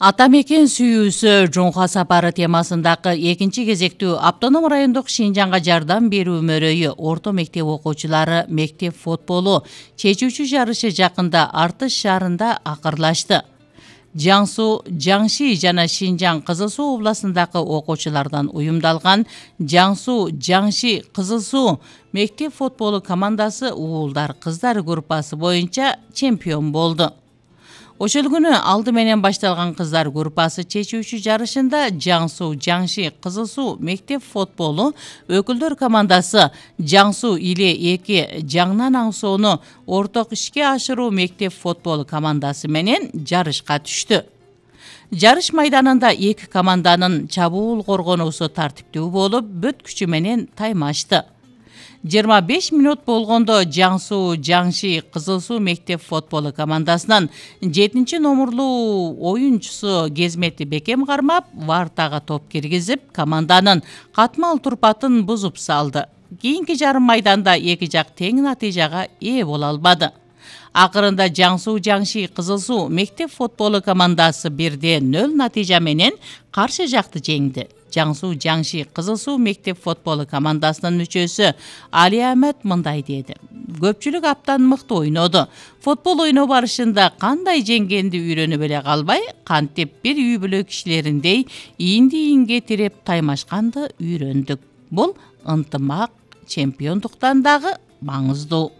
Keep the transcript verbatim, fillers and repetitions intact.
Ата мекен сүйүүсү жоңго сапары темасындагы экинчи кезектүү автоном райондук Шинжаңга жардам берүү мөрөйү орто мектеп окуучулары мектеп футболу чечүүчү жарышы жакында Артыш шаарында акырлашты. Жан Суу, Жаңши жана Шинжаң Кызыл Суу областындагы окуучулардан уюмдалган Жан Суу, Жаңши Кызыл Суу мектеп футболу командасы уулдар кыздар группасы боюнча чемпион болду. Ошол күнү алды менен башталган кыздар группасы чечүүчү жарышында Жан Суу, Жаңши Кызыл Суу мектеп футболу өкүлдөр командасы Жан Суу Иле эки Жаңнан Аңсоону орток ишке ашыруу мектеп футболу командасы менен жарышка түштү. Жарыш майданында эки команданын чабуул коргонуусу тартиптүү болуп, бүт күчү менен таймашты. жыйырма беш мүнөт болгондо Жан Суу, Жаңши Кызыл Суу мектеп футболу командасынан жетинчи номурлуу оюнчусу Кезмети Бекем кармап, вартага топ киргизип, команданын катмал турпатын бузуп салды. Кийинки жарым майданда эки жак тең натыйжага ээ боло албады. Акырында Жан Суу, Жаңши Кызыл Суу мектеп футболу командасы бирде нөл натыйжа менен каршы жакты жеңди. Жан Суу, Жаңши Кызыл Суу мектеп футболу командасынын мүчөсү Али Ахмет мындай деди: көпчүлүк аптан мыкты ойноду. Футбол ойноо барышында кандай жеңгенди үйрөнүп эле калбай, кантип бир үй бүлө кишилериндей иинди-иинге тиреп таймашканды үйрөндүк. Бул ынтымак чемпиондуктан дагы маңыздуу.